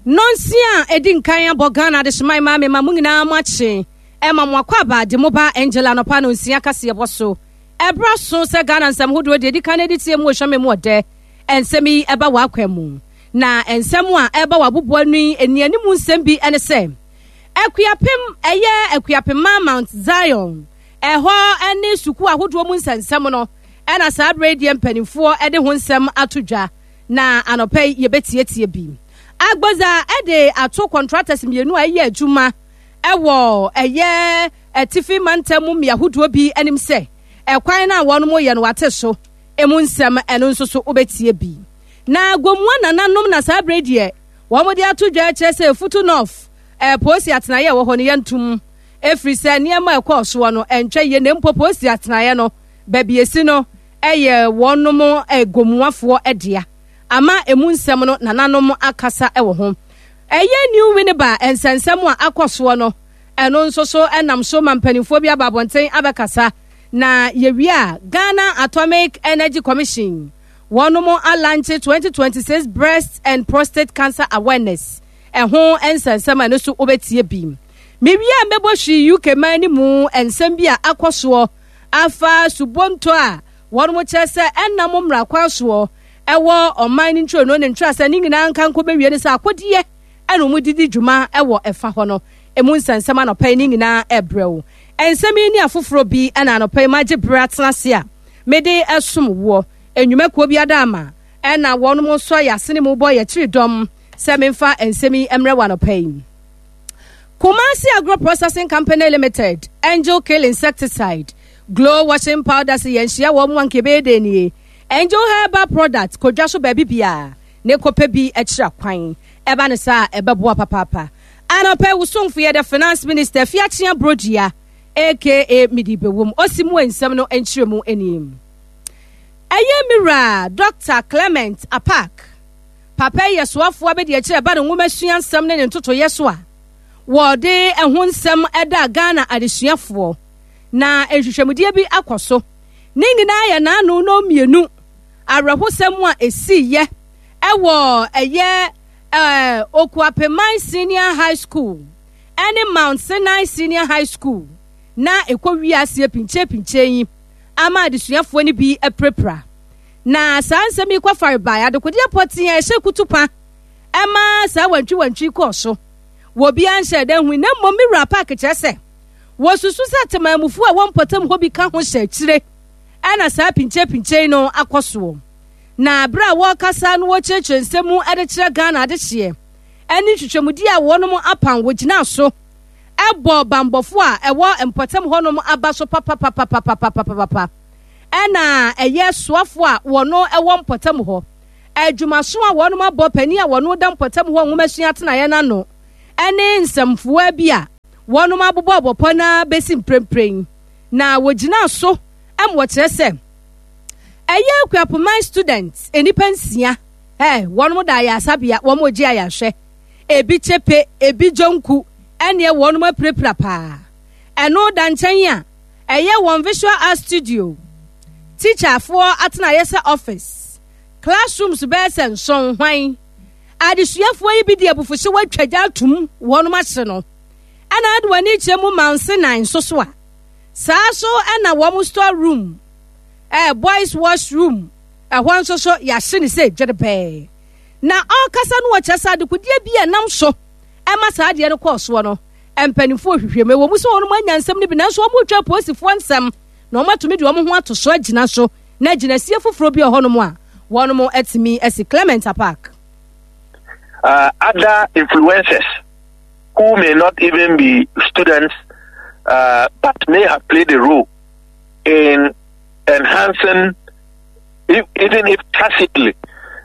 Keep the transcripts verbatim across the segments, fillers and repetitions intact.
Nɔnsia a edi nkan abɔ Ghana adehyeman ma mema mo nyinaa mo akye ɛma mo akwaaba de mo ba Angel anɔpa nonsia kaseɛbɔ so. Ɛberɛ aso sɛ Ghana nsɛm hodoɔ deɛ edi kan adi tie mu wɔ hwame mu ɔdɛ nsɛm yi ɛba w'akwan mu. Na nsɛm a ɛba w'aboboa no yi nnianimu nsɛm bi ɛne sɛ Akuapem ɛyɛ Akuapemma Mount Zion ɛhɔ ɛne sukuu ahodoɔ mu nsɛnsɛm no ɛna saa berɛ yi deɛ mpanimfoɔ ɛde ho nsɛm ato dwa na anɔpa yi yɛbɛtietie bi. Agbodza ɛde ato contractors mmienu a ɛyɛ adwuma ɛwɔ ɛyɛ atifi mantam mu mmea ahodoɔ bi anim sɛ ɛkwan no a wɔn yɛ no wate so emu nsɛm ɛno nso so wobɛtie bi. Na Gomua nananom na saa berɛ deɛ wɔn de ato dwa kyerɛ sɛ Efutu North ɛɛ polisi atenaeɛ ɛwɔ hɔ no yɛntum efiri sɛ nneɛma ɛkɔɔ soɔ no ɛntwa yie na mpo polisi atenaeɛ no baabi esi no ɛyɛ wɔnom ɛgomuafoɔ ɛdea ama emu nsɛm no nananom akasa ɛwɔ ho. Ɛyɛ New Winneba nsɛnsɛm a akɔ soɔ no ɛno nso so ɛnam so ma mpanimfoɔ bi aba abɔnten abɛkasa. Na yɛwie a Ghana Atomic Energy Commission wɔnom alaunch twenty twenty-six breast and prostate cancer awareness ɛho nsɛnsɛm a ɛno nso wobɛtie bi. Mewie a mɛbɔ hwii U K man no mu nsɛm bi a akɔ soɔ afa subonto a wɔnom kyerɛ sɛ ɛnam mmara kwan soɔ ɛwɔ ɔman no ntwirono ne ntwerɛsɛ ne nyinaa nka nkɔ bɛwie no sɛ akodeɛ ɛna wɔn didi dwuma ɛwɔ ɛfa hɔ no emu nsɛnsɛm anɔpa yi ne nyinaa ɛbrɛ wo. Nsɛm yi ne afoforɔ bi ɛna anɔpa yi magye berɛ atena ase a mede ɛsom woɔ. Enyumakuo bi ada ama ɛna wɔn nso ayɛ asene mu bɔ yɛkyiri dɔm sɛ memfa nsɛm yi mmerɛ wɔ anɔpa yi. Kumasi Agro Processing Company Limited, Angel Kill Insecticide, Glow Washing Powder sɛ yɛnhyia wɔn mu anka ɛbɛyɛ dɛ nie. Angel Herbal Product kodwa so baabi bia ne kɔpɛ bi akyira kwan ɛba ne saa ɛbɛboa papaapa. Anɔpɛ wosomfo yɛ the Finance Minister Fiakyea Brodua aka Midi Bewom osi mu nsɛm no nkyerɛ mu anim. Ɛyɛ mira Doctor Clement Apaak papa yi yɛ soafoɔ abɛdi akyerɛ ɛba ne nwoma sua nsɛm ne ne ntotoyɛ so a wɔde ɛho nsɛm ɛda Ghana adesuafoɔ na nhwehwɛmudeɛ bi akɔ so. Ne nyinaa yɛ n'ano no mmienu awerɛhosɛm a esiiɛ ɛwɔ ɛyɛ ɛɛ Okuapeman Senior High School ɛne Mount Sinai Senior High School na ɛkɔ wiase pinkyɛ pinkyɛ yi ama adesuafoɔ no bi apirapira. Na saa nsɛm yi kɔfare bae adekodeɛ pɔtee a ɛhyɛ kutupa ɛma saa wantwiwantwi kɔɔ so wɔ obiara nhyɛ dɛ hu na mmom Mewura Park kyerɛ sɛ wɔsusu sɛ temamufoɔ a wɔn mpɔtam hɔ bi ka ho hyɛ akyire ɛna saa pinkyɛ no akɔ soɔ. Na berɛ a wɔrekasa no wɔkyerɛkyerɛ nsɛm mu de kyerɛ Ghana adehyeɛ ɛne nhwehwɛmudi a wɔnom apam wɔgyina so ɛbɔ bambɔfo a ɛwɔ mpɔtam hɔnom aba so papapapapapapapa ɛna ɛyɛ soafo a wɔno ɛwɔ mpɔtam hɔ adwumaso a wɔnom abɔ panin a wɔno da mpɔtam hɔ nwoma sua atenaeɛ n'ano ɛne nsɛmfoa bi a wɔnom abobɔ abɔpɔ na bɛsi mprempren na wɔgyina so ɛma wɔkyerɛ sɛ ɛyɛ Akuapoman student nnipa nsia ɛ wɔnom da ayasabea wɔn gye ayahwɛ ebi kyepe ebi dwonku ɛneɛ wɔnom apirapira paa. Ɛno da nkyɛn a ɛyɛ wɔn visual art studio teacherfoɔ atenaeɛ sɛ office classrooms bɛyɛ sɛ nson hwan adesuafoɔ yi bi de abufuhye wɔatwa gya atum wɔnom ahye no ɛna ade wɔn ani kyerɛ mu Mount Sinai nso so a saa so ɛna wɔn store room ɛɛ boys wash room ɛhɔ nso so yɛahye ne sɛ dwerebɛɛ. Na ɔrekasa no wɔkyerɛ sɛ adekodeɛ bi a ɛnam so ɛma saa adeɛ no kɔɔ soɔ no mpanimfoɔ hwehwɛ mu ɛwɔ mu sɛ wɔn anya nsɛm no bi nanso wɔn retwa apolisifoɔ nsɛm na wɔn atumi de wɔn ho ato so agyina so na gyinasie foforɔ bi wɔ hɔnom a wɔn atumi asi. Clement Apaak. Uh, other influencers who may not even be students uh, but may have played a role in enhancing, if, even if tacitly,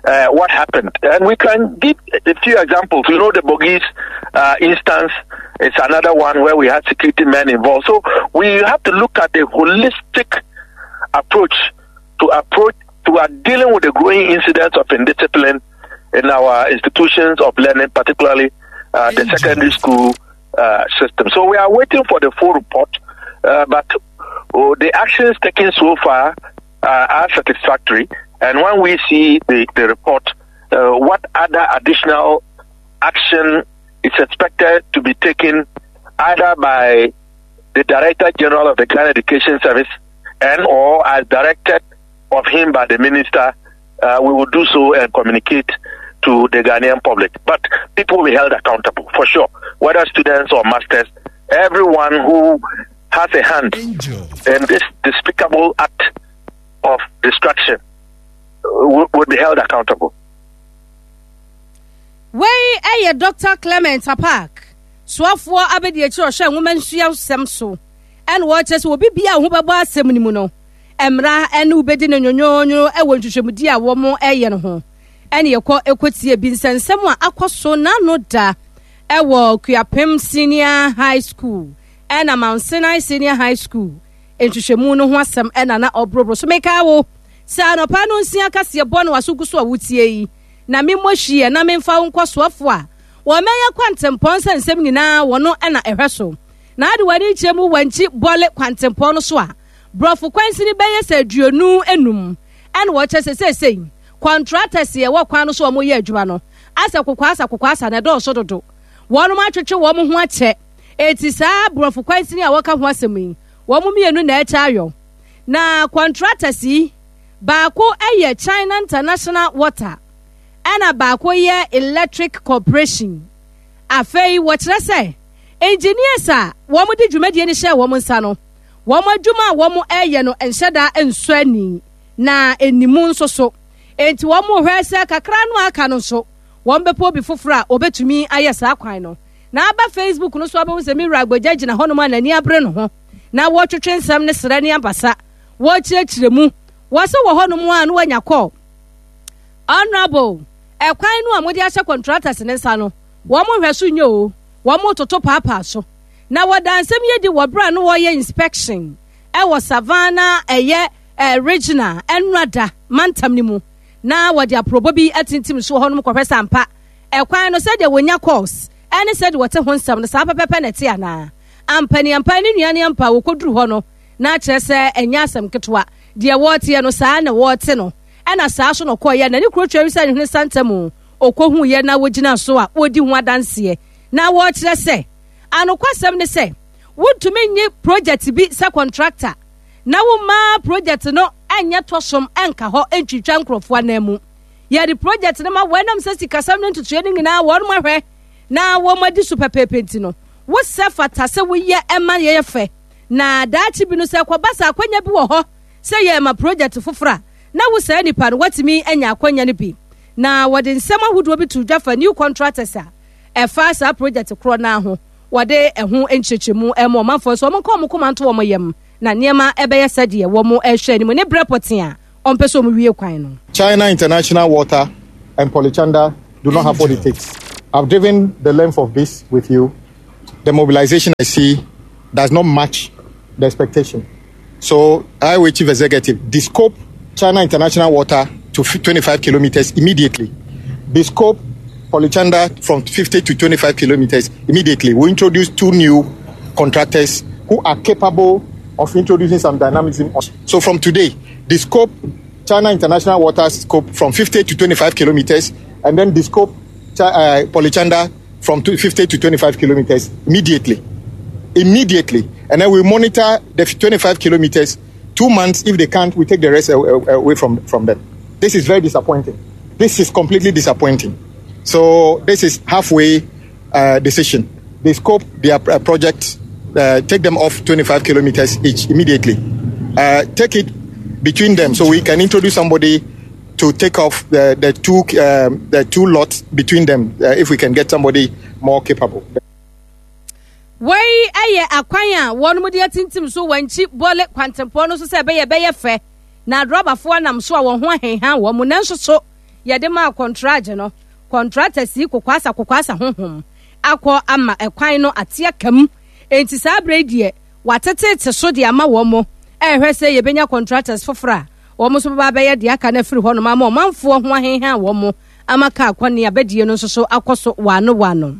uh, what happened. And we can give a few examples. You know, the Bogis uh, instance is another one where we had security men involved. So we have to look at a holistic approach to approach to are dealing with the growing incidence of indiscipline in our institutions of learning, particularly uh, the secondary school uh, system. So we are waiting for the full report, uh, but oh, the actions taken so far uh, are satisfactory. And when we see the, the report, uh, what other additional action is expected to be taken either by the Director General of the Ghana Education Service and or as directed of him by the minister, uh, we will do so and communicate to the Ghanaian public. But people will be held accountable for sure, whether students or masters, everyone who has a hand in this despicable act of destruction uh, would be held accountable. Wei yɛ Dɔkta Clement Apaak, soafoɔ abadiakyiri a ɔhwɛ nwoma nsua nsɛm so, ɛna ɔrekyerɛ sɛ obi bia a ho bɛbɔ asɛm no mu no, mmara ne wobɛdi no nwonwonwono wɔ nhwehwɛmudi a wɔn reyɛ no ho. Ɛne yɛkɔ ɛkɔtie bi nsɛnsɛm a akɔ so n'ano da ɛwɔ Kuapem Senior High School ɛna Mount Sinai Senior High School nhwehwɛmu no ho asɛm ɛna na ɔborɔborɔ so. Meka wo sɛ anɔpa no nsia kaseɛ bɔ no waso gu so a wotie yi na memmɔ hwie na memfa wo nkɔ soafo a wɔmɛyɛ kwantempɔn sɛ nsɛm nyinaa wɔno ɛna ɛhwɛ so na ade w'ani kyerɛ mu wankyi bɔle kwantempɔn no so a borɔfo kwansini bɛyɛ sɛ aduonu enum ɛna wɔkyɛ sɛ seesei contractors yɛ wɔ kwan no so a wɔyɛ adwuma no asɛ kokoasa kokoasa na ɛdɔɔso dodo. Wɔn atwetwe wɔn ho akyɛ eti saa borɔfo kwansini a wɔka ho asɛm yi, wɔn mmienu na ɛkyɛ ayɔ na contractors yi baako yɛ China International Water ɛna baako yɛ Electric Corporation. Afei wɔkyerɛ sɛ engineers a wɔn de dwumadie no hyɛ wɔn nsa no, wɔn adwuma a wɔn reyɛ no nhyɛ da nsɔ ani na animu nso so, enti wɔn hwɛ sɛ kakra no aka no nso wɔn bɛpɛ obi foforɔ a obetumi ayɛ saa kwan no. Na aba Facebook no so abɛhu sɛ mewura Agbagya gyina hɔnom a n'ani abere no ho na wɔtwetwe nsɛm ne serɛ ne abasa wɔkyerɛkyerɛ mu. Wɔsɛ wɔ hɔnom a no wanya kɔɔ honorable ɛkwan no a mode ahyɛ contractors ne nsa no, wɔn hwɛ so nye o, wɔn toto paapaa so. Na wɔda nsɛm yɛ di wɔ berɛ a no wɔyɛ inspection ɛwɔ Savannah ɛyɛ ɛ regional ɛnurada mantam no mu na wɔde aporɔbɔ bi atintim so wɔ hɔnom kɔhwɛ sɛ ampa ɛkwan no sɛdeɛ wɔnya course ɛne sɛdeɛ wɔte ho nsɛm no saa pɛpɛpɛ na ɛte anaa. Ampaniampa ne nua ne ampa wɔkɔduru hɔ no na kyerɛ sɛ ɛnyɛ asɛm ketewa, deɛ wɔteɛ no saa na wɔte no. Ɛna saa so na ɔkɔɔyɛ na ne kuro twɛ sɛ ne hwene santam ɔkɔhu yɛ na wɔgyina so a wɔdi ho adanseɛ na wɔrekyerɛ sɛ anokwasɛm ne sɛ wontumi nye project bi sɛ contractor na woma project no ɛnyɛ tɔsom ɛnka hɔ ntwitwa nkurɔfoɔ anan mu. Yɛde project no ma wɔnam sɛ sikasɛm no ntotoeɛ no nyinaa wɔn ahwɛ na wɔn adi so pɛpɛɛpɛ, nti no wosɛ fata sɛ woyɛ ɛma yɛyɛ fɛ na daakye bi no sɛ kɔba sɛ akwanya bi wɔ hɔ sɛ yɛma project foforɔ a na wo saa nipa no watumi anya akwanya no bi. Na wɔde nsɛm ahodoɔ bi to dwa fa new contractors a ɛfa saa project korɔ naa ho. Wɔde ɛho nkyerɛkyerɛmu ɛma ɔmanfoɔ so wɔn nka wɔn koma nto wɔn yam na nneɛma ɛbɛyɛ sɛdeɛ wɔn ɛhwɛ anim ne berɛ pɔtee a ɔmpɛ sɛ wɔn wie kwan no. China International Water and Polychanda do not have what it takes. I've driven the length of this with you. The mobilization I see does not match the expectation. So, Highway Chief Executive, the scope China International Water to twenty-five kilometers immediately. The scope Polychanda from fifty to twenty-five kilometers immediately. We introduce two new contractors who are capable of introducing some dynamism. So from today, the scope China International Water scope from fifty to twenty-five kilometers, and then the scope uh, Polychanda from fifty to twenty-five kilometers immediately. Immediately. And then we monitor the twenty-five kilometers. Two months, if they can't, we take the rest away from, from them. This is very disappointing. This is completely disappointing. So this is halfway uh, decision. They scope their uh, project, uh, take them off twenty-five kilometers each immediately. Uh, take it between them so we can introduce somebody to take off the, the two um, the two lots between them uh, if we can get somebody more capable. Wei ɛyɛ akwan a wɔn de atintim so wɔn akyi bɔle kwantempɔn no so sɛ ɛbɛyɛ ɛbɛyɛ fɛ na adrɔbafoɔ nam so a wɔn ho ahenha wɔn mu. Nanso so yɛde maa contract no, contractors yi kokoasa kokoasa honhom akɔ ama ɛkwan no ate akam, enti saa abere yi deɛ watetete so de ama wɔn mo ɛrehwɛ sɛ yɛbɛnya contractors foforɔ a wɔn nso bɛba abɛyɛ deɛ aka no afiri hɔnom ama ɔmanfoɔ ho ahenha wɔn mo ama kaa kɔne abɛdie no nso so akɔ so wano wano.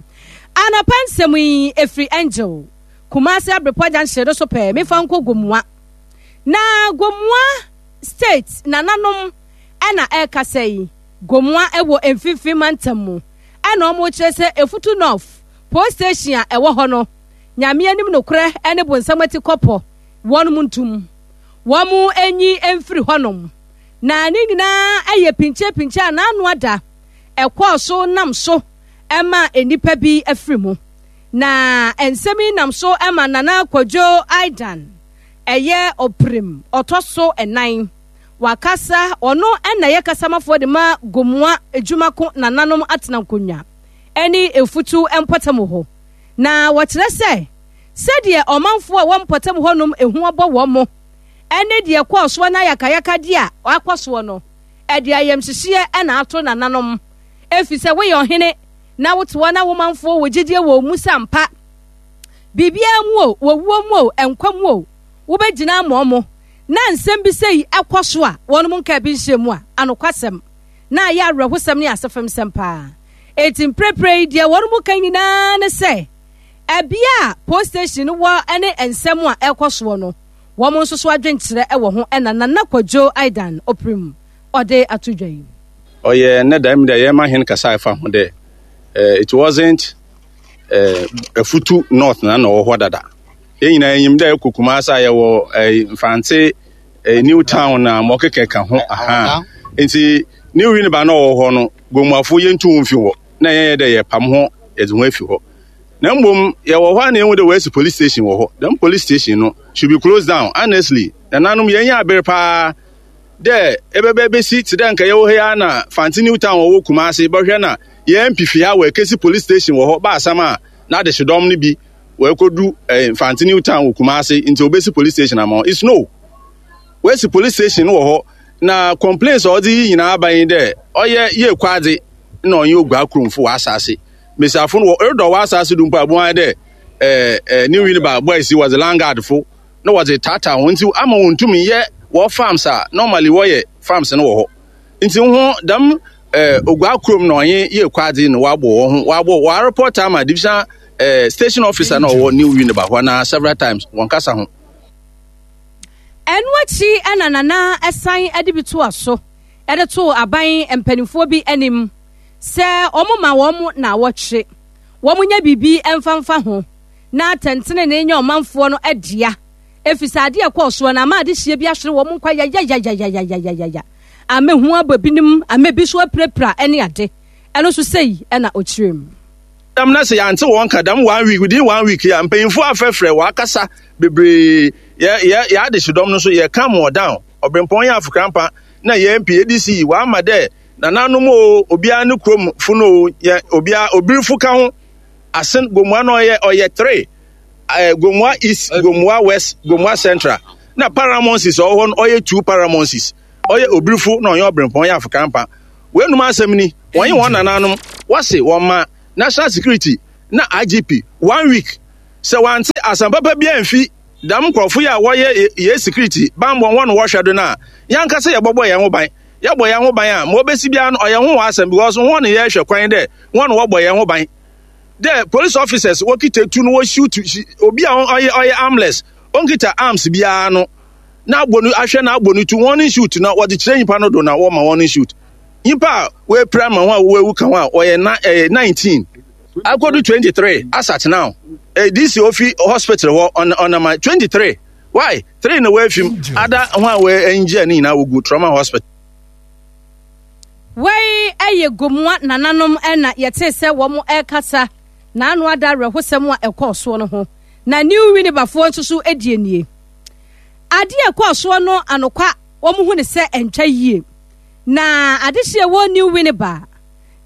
Anapa nsɛm yi efiri Angel Kumasi Abrepɔ junction no so pɛɛ. Mefa nkɔ Gomua na Gomua State nananom ɛna ɛrekasa yi. Gomua ɛwɔ Mfimfini Mantam mu. Ɛna wɔn kyerɛ sɛ Efutu North Police Station a ɛwɔ hɔ no, Nyame anim nokorɛ ne bonsam ati kɔpɔ, wɔnom ntum wɔn nyi mfiri hɔnom. Na ne nyinaa yɛ pinkye-pinkye a n'ano ada ɛkɔɔ so nam so ma nnipa bi afiri mu. Na nsɛm yi nam so ma Nana Kwadwo Aidan ɛyɛ ɔpirim ɔtɔ so nnan. Wakasa, ɔno na ɛyɛ kasamafoɔ de ma Gomoa Adwumako nananom atena nkonnwa ne Efutu mpɔtam hɔ. Na wɔkyerɛ sɛ sɛdeɛ ɔmanfoɔ a ɛwɔ mpɔtam hɔnom ehu abɔ wɔn mo ne deɛ ɛkɔɔ soɔ no ayakayakadeɛ a akɔ soɔ no, ɛde ayamhyehyeɛ na ato nananom. Ɛfiri sɛ woyɛ ɔhene na wote hɔ na wo manfoɔ wɔ gyidie wɔ wo mu sɛ ampa biribiara mu o, wɔwuo mu o, nkwa mu o, wobɛgyina ama ɔmo, na nsɛm bi sɛ yi ɛkɔ so a wɔnom nka bi nhyɛ mu a, anokwasɛm na ayɛ awerɛhosɛm ne asefemsɛm paa. Enti mprepre yi deɛ wɔnom ka nyinaa ne sɛ ɛbea a police station no wɔ ne nsɛm a ɛkɔ soɔ no, wɔn nso so adwenkyerɛ wɔ ho. Ɛna Nana Kwadwo Aidan Opirim ɔde ato dwa yi. Ɔyɛ nnɛ da mu dɛ yɛma hen kasa ɛfa ho dɛ it wasn't uh, Afutu North na na ɔwɔ hɔ dada. Yɛn nyinaa yɛnyim dɛ ɛkɔ Kumasi a yɛwɔ eh, Mfantse eh, New Town na ma ɔkeka ka ho aha. Nti New Winneba na ɔwɔ hɔ no, Gomuafo yɛntu ho mfi hɔ na yɛnyɛ dɛ yɛpam ho yɛdze ho afi hɔ. Na mmom yɛwɔ hɔ a na yɛhu dɛ wɔasi police station wɔ hɔ. Dɛm police station no should be closed down. Honestly, nananom yɛnyɛ aber paa dɛ ebɛbɛ besi tse dɛ nka yɛwɔ ha yi ara na Fante New Town ɔwɔ Kumasi bɛhwɛ na yɛn M P fi ha wɔakesi police station wɔ hɔ ba asɛm a n'adehyedɔm no bi wɔakodu eh, Fante New Town wɔ Kumasi nti obesi police station ama wɔn. It's no. Wɔasi police station wɔ hɔ na complaints a ɔdze yi nyinaa aba yi dɛ ɔyɛ yɛ kwadze na ɔnyɛ Ogua kuromfo wɔ asase. Mbesiafo no wɔ erodɔ wɔ asase do mpo a bohu dɛ eh, eh, New Winneba boys yi wɔdze landguard fo na wɔdze taataa wɔn nti ama wɔn ntumi yɛ wɔ farms a normally wɔyɛ farms no wɔ hɔ. Nti ho dɛm eh, Ogua kurom na ɔnye yɛ kwadze na wɔabɔ wɔn ho wɔabɔ wɔn report ama division eh, station officer na ɔwɔ New Winneba hɔ na several times wɔn kasa ho. Ɛno akyi ɛna Nana ɛsan de bi toa so ɛde to aban mpanimfoɔ bi anim sɛ wɔn ma wɔn na wɔtwe wɔn nya biribi mfamfa ho na atɛntenenee nyɛ ɔmanfoɔ no adua, ɛfiri sɛ adeɛ ɛkɔɔ soɔ no ama adehyeɛ bi ahwere wɔn nkwa yayayayayayayaya, ama hu abɔ binom, ama bi so apirapira ne ade. Ɛno nso sɛyi ɛna ɔkyerɛ mu. Dɛm na sɛ yɛante wɔn ka dɛm one week, within one week a mpanyinfoɔ afrɛfrɛ wɔakasa bebree, yɛ yɛ yɛ adehyedɔm no nso yɛ calm wɔn down. Ɔbrempɔn yɛ afokrampa na yɛ M P A D C wɔama dɛ nananom o, obiara ne kurom fo no o, yɛ obiara obirifo ka ho asen Gomoa no ɔyɛ ɔyɛ three ɛɛ Gomoa East, Gomoa West, Gomoa Central na Paramounts ɔwɔ hɔ no ɔyɛ two Paramounts, ɔyɛ obirifo na ɔyɛ ɔbrempɔn yɛ afokrampa. Wɔnum asɛm ni wɔnye wɔn nananom wɔse wɔn ma national security na I G P one week sɛ wɔante asɛm papa bi amfi dɛm nkurɔfo yi a wɔyɛ yɛ security bambɔ wɔn no wɔhwɛ do no a, yɛankasa yɛbɔbɔ yɛn ho ban. Yɛbɔ yɛn ho ban a, ma obesi biara no ɔyɛ ho wɔ asɛm because wɔn ne yɛhwɛ kwan dɛ wɔn no wɔbɔ yɛn ho ban dɛ police officers wɔkita tu no wɔshoot obi a ɔyɛ ɔyɛ armless, ɔnkita arms biara no na abɔ no ahwɛ na abɔ no tu wɔn ne shoot na wɔde kyerɛ nyimpa no do na wɔma wɔn ne shoot nyimpa a wɔapira ma ho a wɔawu ka ho a wɔyɛ na ɛyɛ nineteen akɔdu twenty three as at now. eh, D C ofi hospital hɔ ɔnama twenty three why three na wɔafim ada ho a wɔangye ne nyinaa wɔgu trauma hospital. Wei ɛyɛ Gomoa nananom ɛna yɛte sɛ wɔn ɛrekasa n'ano ada awerɛhosɛm a ɛkɔɔ soɔ no ho. Na New Winnebafoɔ nso so die nie. Adeɛ a ɛkɔɔ soɔ no anokwa wɔn hu ne sɛ ɛntwa yie. Na adehyeɛ wɔ New Winneba,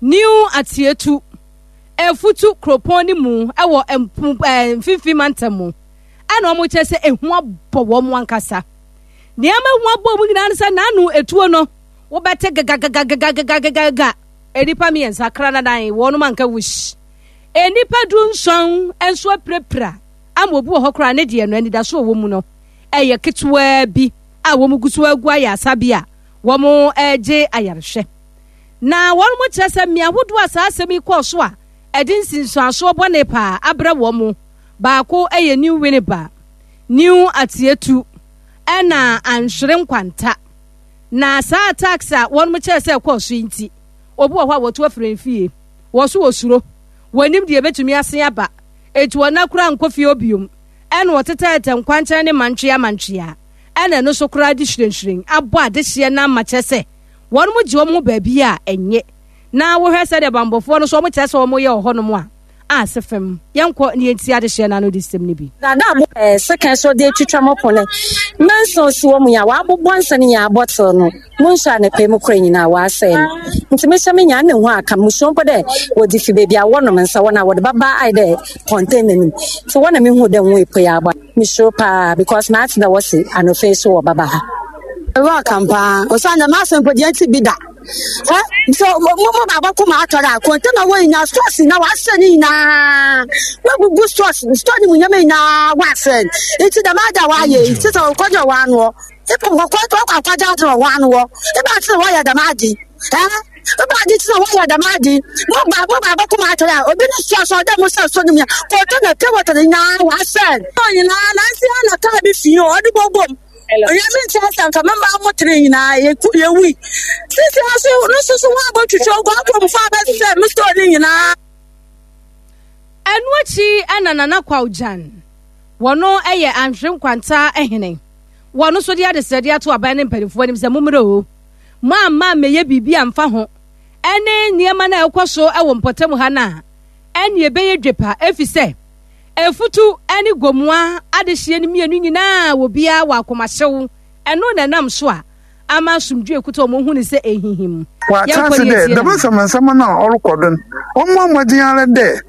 New Atietu, Efutu kuropɔn no mu ɛwɔ ɛɛ mfimfini mantam mu ɛna wɔn kyerɛ sɛ ehu abɔ wɔn ankasa. Nneɛma ehu abɔ wɔn nyinaa no sɛ n'ano etuo no wobɛte gagagagagagagaga, nnipa mmiɛnsa kra nanan wɔn anka wush, nnipa du nson nso apirapira ama obi wɔ hɔ koraa ne deɛ no anidaso a wɔ mu no ɛyɛ ketewaa bi a wɔn gu so agu ayɛ asa bi a wɔn regye ayarehwɛ. Na wɔn mo kyerɛ sɛ mmea ahodoɔ a saa asɛm yi kɔɔ so a ɛde nsinsuansoɔ bɔne paa abrɛ wɔn mo baako yɛ New Winneba, New Atietu ɛna Anhwere Nkwanta. Na saa attacks a wɔn mo kyerɛ sɛ ɛkɔɔ so yi nti, obi wɔ hɔ a wɔto afiri ne fie, Wɔ so wɔsuro, wɔnim deɛ ɛbɛtumi asen aba, enti wɔn akora nkɔ fie obiom. Ɛna wɔtetɛɛtɛ nkwankyɛn ne mantwea mantwea, ɛna ɛno so koraa de hyerɛnhyerɛn abɔ adehyeɛ no ama kyerɛ sɛ wɔn mo gye wɔn ho baabi a ɛnyɛ. Na wohwɛ sɛdeɛ bambɔfoɔ no so wɔn kyerɛ sɛ wɔn yɛ wɔ hɔnom a, ase fam. Yɛnkɔ ne yɛnti adehyeɛ no ano de sɛm no bi. Dada abo ɛɛ second so de twitwa mo pone. Manson si wɔ mu ya wabobɔ nsa ne nya bottle no. Mo nso a ne pɛ mu kora nyinaa wasɛe no. Nti mehyɛ me nya ne ho aka musuo mpo dɛ wɔde fi baabi a wɔnom nsa wɔn a wɔde baba ayɛ dɛ container nim. Nti wɔn na mehu dɛ ho epo yɛ aba. Mesuro paa because maate dɛ wɔse anofe so wɔ baba ha. Ɛwɔ akampa. Ɔsan dɛ m'asɛm mpo deɛ nti bi da. Ɛ so mo mo baaba ko ma atɔre a container wɔ nyinaa stores na wasɛ ne nyinaa. Wagugu stores store ne mu nneɛma nyinaa wasɛ. Nti dɛm ada wayɛ yi sɛ sɛ ɔkɔgye wɔ ano. Ipo kɔkɔ ɔkɔ akɔgye ade wɔ ano wɔ. Iba ati na wɔyɛ dɛm ade. Ɛ iba adi ti na wɔyɛ dɛm ade. Mo ba mo baaba ko ma atɔre a obi ne stores ɔdɛ mo sɛ store ne mu container pure water nyinaa wasɛ. Nyinaa nansi ana kaa bi fi ɔde bɔbom. Onyame nti asɛm fa mɛma mo tere nyinaa yɛwui. Sisi aso no soso wɔn abɔtwitwa ogu akuromfo abɛsɛ mo store ne nyinaa. Ɛno akyi ɛna Nana Kwawgyan, wɔno ɛyɛ Anhwere Nkwanta hene. Wɔno nso de adesrɛde ato aban ne mpanimfoɔ anim sɛ mommrɛ o. Mo amma mmɛyɛ biribi amfa ho. Ɛne nneɛma no a ɛkɔ so ɛwɔ mpɔtam ha no a, ɛne ɛbɛyɛ dwepa ɛfiri sɛ efutu ɛne gomoa adehyeɛ no mmienu nyinaa wɔ biara wɔ akomahyew. Ɛno na ɛnam so a ama asomdwe ekuta wɔn hu ne sɛ ehihim. Wɔatena ase dɛ dɛm nsɛmnsɛm no a ɔrokɔ do no, wɔmmɔ mbɔdzen ara dɛ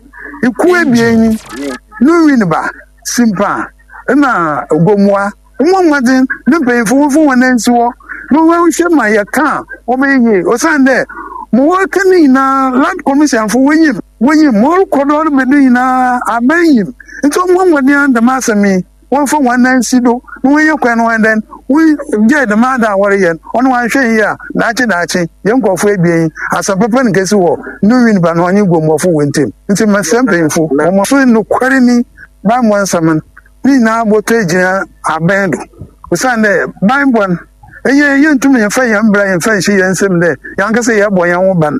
ekuw ebien yi, no Winneba, Simpa na Gomoa, wɔmmɔ mbɔdzen ne mpanyimfo wɔmfa hɔn nsi hɔ na wɔnhwɛ ma yɛka a wɔbɛyɛ yie osiandɛ ma wɔreka no nyinaa Land Commissionfo wonyim, wonyim ma ɔrokɔ do ɔreba do nyinaa aban nyim ntsi wɔmmɔ mbɔdzen ara dɛm asɛm yi wɔmfa hɔn nan nsi do na wɔnyɛ kwan no wɔn dɛn wɔgyae dɛm ade a wɔreyɛ no ɔno wɔanhwɛ yie a daakye daakye yɛn nkurɔfo ebien yi asɛm papa no kɛsi wɔ no Winneba no ɔnye Gomoafo wɔ ntam nti mesrɛ mpanyimfo wɔn so nokware ni bammɔ nsɛm no ne nyinaa bɔtɔ egyina abɛn do osiane dɛ banbɔ no ɛyɛ yɛntumi yɛmfa yɛn mbra yɛmfa nhyɛ yɛn nsam dɛ yɛn ankasa yɛbɔ yɛn ho ban.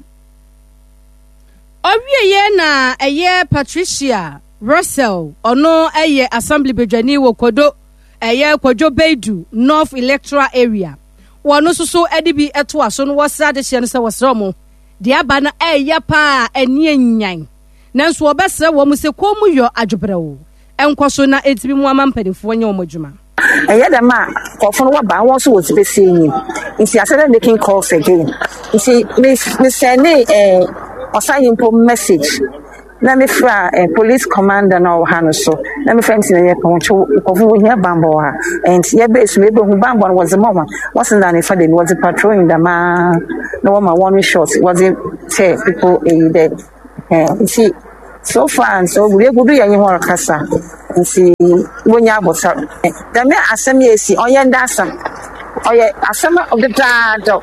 Ɔwieɛ na ɛyɛ Patricia Russell, ɔno ɛyɛ assembly badwani wɔ Kodo, ɛyɛ Kwadwo Beidu North Electoral Area. Wɔno nso so ɛde bi ɛto aso no wɔsrɛ adehyeɛ no sɛ wɔsrɛ wɔn deɛ aba no ɛyɛ paa ɛne anyan. Nanso wɔbɛsrɛ wɔn sɛ kɔn mu yɔ adwobrɛw ɛnkɔ so na ɛntumi mu ama mpanimfoɔ nyɛ wɔn adwuma. Ɛyɛ dɛm a nkurɔfo no wɔba wɔn nso wɔ space enyim nti I started making calls again nti me me sɛnde ɛɛ ɔsan mpo message na me fra eh, police commander na ɔwɔ ha no so na me fra nti na yɛ pɔn kyew nkurɔfo wɔ hia bambɔ wɔ ha and yɛ bɛ esu ebe hu bambɔ no wɔdze ma wɔn wɔsen da ne fa de wɔdze patrolling dɛm na wɔma wɔn short wɔdze tell people eyi dɛ ɛɛ nti so far and so good egudu yɛ nye hɔn kasa nti wonya abotare dɛm asɛm yɛ esi ɔyɛ nda asɛm ɔyɛ asɛm a dedaada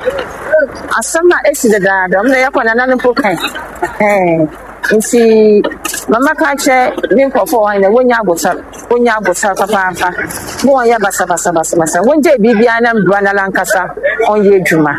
asɛm a esi dedaada ɔmo na yɛkɔ nana no mpo kan ɛɛ nti mama ka kyerɛ ne nkurɔfoɔ wɔn na wonya abotare wonya abotare papaapa mo wɔn yɛ basabasabasabasa wɔngye biribiara na mbura nala nkasa ɔnyɛ adwuma.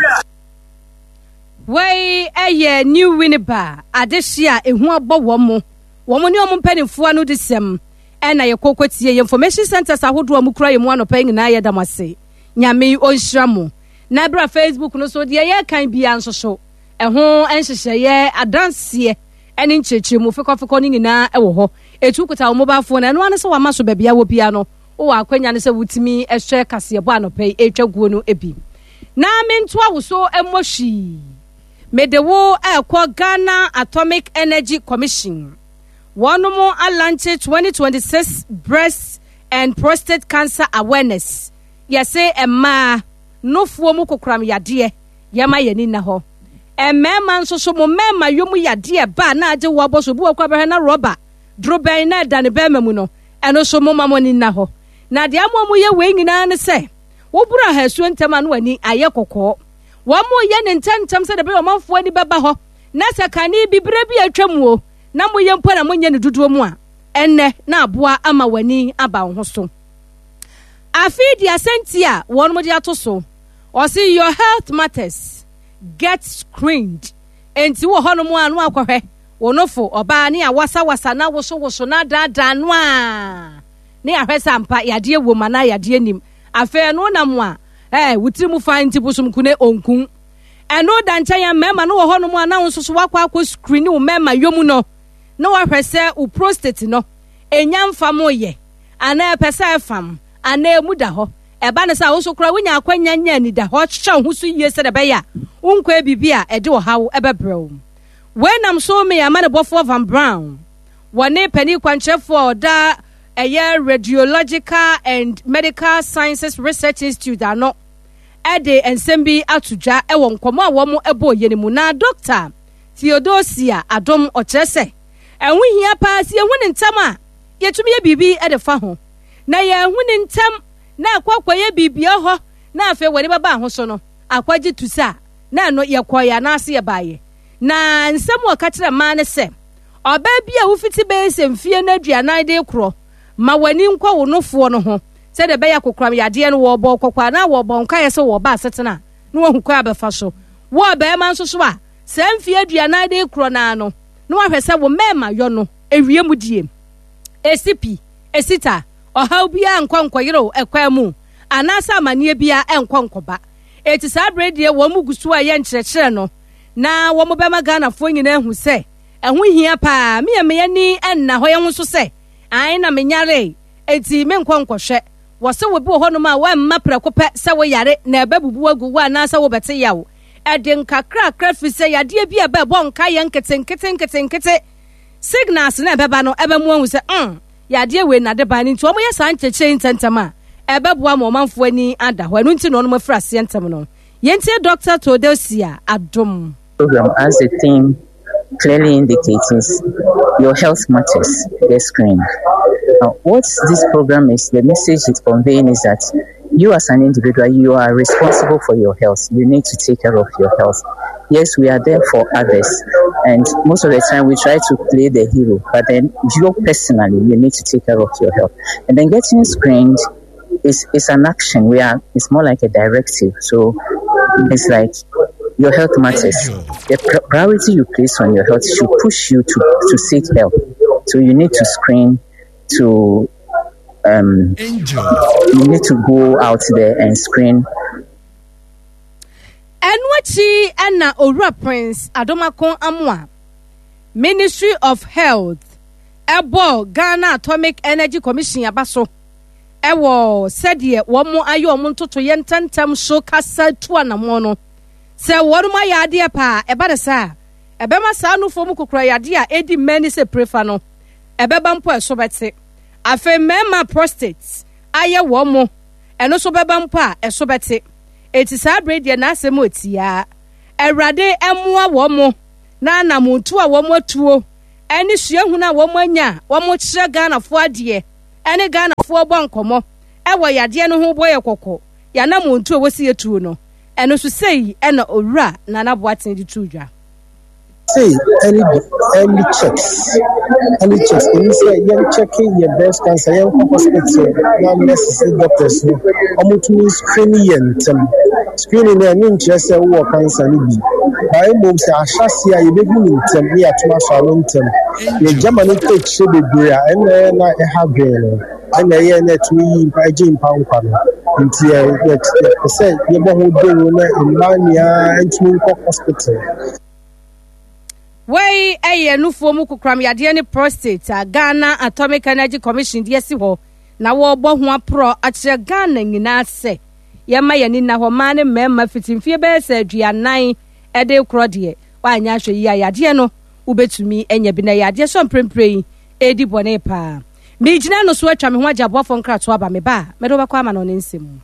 Wei ɛyɛ New Winneba adehye a ehu abɔ wɔn mo wɔn ne wɔn mpanimfoɔ no de sɛm ɛna yɛ kɔkɔ tie yɛ information centers ahodoɔ a mu kura yɛ mu anɔpa yi nyinaa yɛ dam ase. Nyame ɔnhyira mo. Na ɛberɛ Facebook no so deɛ yɛkan bia nso so ɛho nhyehyɛeɛ adanseɛ ɛne nkyerɛkyerɛmu fekɔfekɔ no nyinaa ɛwɔ hɔ. Ɛtu kuta wo mobile phone ɛno ano sɛ wama so baabi a wɔ bia no wowɔ akwanya no sɛ wotumi ɛhwɛ kaseɛbɔ anɔpa yi ɛtwa guo no bi. Na mentoa wo so mmɔ hwii. Mede wo ɛkɔ Ghana Atomic Energy Commission. Wɔn alaunch twenty twenty-six breast and prostate cancer awareness. Yɛse mmaa nofoɔ mu kokoram yadeɛ yɛma yɛni na hɔ. Mmarima nso so mo mmarima yom yadeɛ ba na agye wo abɔ so bi wɔ kɔ abɛhwɛ na rɔba dorobɛn na ɛda ne bɛrima mu no ɛno so mo ma mo ani na hɔ. Na deɛ ama mo yɛ wei nyinaa ne sɛ woboro ahasuo ntɛm a no ani ayɛ kɔkɔɔ. Wɔn mo yɛ ne ntɛmntɛm sɛ de bɛyɛ ɔmanfoɔ ani bɛba hɔ na sɛ kane bi bere bi atwa mu o na mo yɛ mpo na mo nyɛ ne dodoɔ mu a ɛnnɛ na aboa ama w'ani aba wo ho so. Afei di asɛnti a wɔn mo de ato so ɔsi your health matters, get screened. Enti wɔ hɔnom a no akɔhwɛ Wo nofo, ɔbaa, ne awasawasa na wosowoso na adaadaa no a, ne ahwɛ sɛ ampa yadeɛ wom anaa yadeɛ nim. Afei ɛno nam a, ɛɛ, wo tiri mu fa nti bosom kune onkun. Ɛno da nkyɛn a mmarima no wɔ hɔnom a na wo nso so wakɔ akɔ screen wo mmarima yom no na wahwɛ sɛ wo prostate no enya mfa mo yɛ anaa ɛpɛ sɛ ɛfam anaa emu da hɔ. Ɛba no sɛ wo nso koraa wonya akwanya nya anidahɔ hyehyɛ wo ho so yie sɛdeɛ ɛbɛyɛ a wonkɔɛ biribi a ɛde ɔhaw ɛbɛbrɛ wo. Wei nam so me amanebɔfoɔ Van Brown wɔne panin kwankyerɛfoɔ a ɔda ɛyɛ Radiological and Medical Sciences Research Institute ano ɛde nsɛm bi ato dwa ɛwɔ nkɔmmɔ a wɔn ɛbɔɔ yɛ no mu. Na Doctor Theodosia Adom ɔkyerɛ sɛ ɛho hia paa sɛ yɛhu ne ntɛm a yɛtumi yɛ biribi ɛde fa ho, na yɛhu ne ntɛm na akɔ akɔyɛ biribia hɔ na afei wɔde bɛba ho so no akɔgye tu sa na ɛno yɛkɔeɛ anaase yɛbaeɛ. Na nsɛm a ɔka kyerɛ mmaa ne sɛ ɔbaa bi a wofiti bɛyɛ sɛ mfie no aduanan de korɔ ma w'ani nkɔ wo nofoɔ no ho sɛdeɛ ɛbɛyɛ kokoram yadeɛ no wɔbɔ kɔkɔ anaa wɔbɔ nkaeɛ sɛ wɔba asetena na wahu kwan abɛfa so. Wo ɔbarima nso so a saa mfie aduanan de korɔ naa no na wahwɛ sɛ wo mmarima yɔ no ewie mu die esi pi esita ɔhaw biara nkɔ nkɔyerew ɛkwan mu anaasɛ amanneɛ biara ɛnkɔ nkɔba. Eti saa abere deɛ wɔn mu gu so a ɛyɛ nkyerɛkyerɛ no na wɔn bɛma Ghanafoɔ nyinaa ahu sɛ ɛho hia paa. Meyɛ mmea ni ɛnna hɔ yɛn ho so sɛ ae na menyare eti menkɔ nkɔhwɛ. Wɔsɛ wɔ bi wɔ hɔnom a wɔmma prɛko pɛ sɛ woyare na ɛbɛbubu agu wo anaasɛ wobɛte yaw. Ɛde nkakrakra firi sɛ yadeɛ bi a ɛbɛbɔ nka yɛ nketenkete nketenkete signals na ɛbɛba no ɛbɛmo ahu sɛ mm yadeɛ wei na de ba no. Nti wɔn yɛ saa nkyerɛkyerɛ ntɛntɛm a ɛbɛboa ma ɔmanfoɔ ani ada hɔ. Ɛno nti na wɔn afiri aseɛ ntɛm no. Yɛntie Doctor Theodosia Adom. Program as the theme clearly indicates is your health matters, get screened. Now, what this program is, the message it's conveying is that you as an individual, you are responsible for your health. You need to take care of your health. Yes, we are there for others, and most of the time we try to play the hero, but then you personally, you need to take care of your health. And then getting screened is, is an action. We are, it's more like a directive. So it's like your health matters. The pr- priority you place on your health should push you to, to seek help. So you need to screen to, um, you need to go out there and screen. Ɛno akyi ɛna Owura Prince Adomako Amoa, Ministry of Health, ɛbɔ Ghana Atomic Energy Commission aba so ɛwɔ sɛdeɛ wɔn ayɛ wɔn ntotoyɛ ntɛntɛm so kasa tu anammɔn no sɛ wɔn ayɛ adeɛ paa. Ɛba ne saa ɛbɛma saa nufoɔ mu kokora yadeɛ a ɛdi mmɛn ne sɛ prefa no ɛbɛba mpo ɛso bɛte. Afei mmarima prostate ayɛ wɔn mo ɛno nso bɛba mpo a ɛso bɛte. Eti saa abere deɛ n'asɛm otia Awurade ɛmoa wɔn mo na anamontu a wɔn atuo ɛne suahunu a wɔn anya a wɔn kyerɛ Ghanafoɔ adeɛ ɛne Ghanafoɔ bɔ nkɔmɔ ɛwɔ yadeɛ no ho bɔ yɛ kɔkɔ yɛanamontu a wɔsi etuo no ɛno nso sei ɛna Owura Nana Boateng de tu dwa. Say early early checks, early checks. Èmi sɛ yɛn check yɛ breast cancer, yɛn kɔ hospital na nurses ne doctors no wɔn tumi screen yɛn ntɛm. Screening no ɛno nkyerɛ sɛ wowɔ cancer no bi, na mmom sɛ ahyase a yɛbɛhu no ntɛm ne yɛatom asɔ ano ntɛm. Yɛgya ma no kɔ akyire bebree a ɛna ɛyɛ na ɛha dwen no, ɛna ɛyɛ na ɛtumi yi mpa gye mpa nkwa no. Nti yɛ yɛ yɛpɛ sɛ yɛbɔ ho dawuro na mmaa nyinaa ntumi nkɔ hospital. Wei ɛyɛ nufoɔ mu kokoram yadeɛ ne prostate a Ghana Atomic Energy Commission de asi hɔ na wɔrebɔ ho aporɔ akyerɛ Ghana nyinaa sɛ yɛma yɛn ani nna hɔ. Mmaa ne mmarima fiti mfeɛ bɛyɛ sɛ aduanan ɛde korɔ deɛ woanyɛ ahwɛ yi a yadeɛ no wobɛtumi anya bi na yadeɛ so mprempren yi ɛredi bɔne paa. Megyina no so atwa me ho agye aboafoɔ nkratoɔ aba me ba a mɛde wobɛkɔ ama no ne nsɛm mu.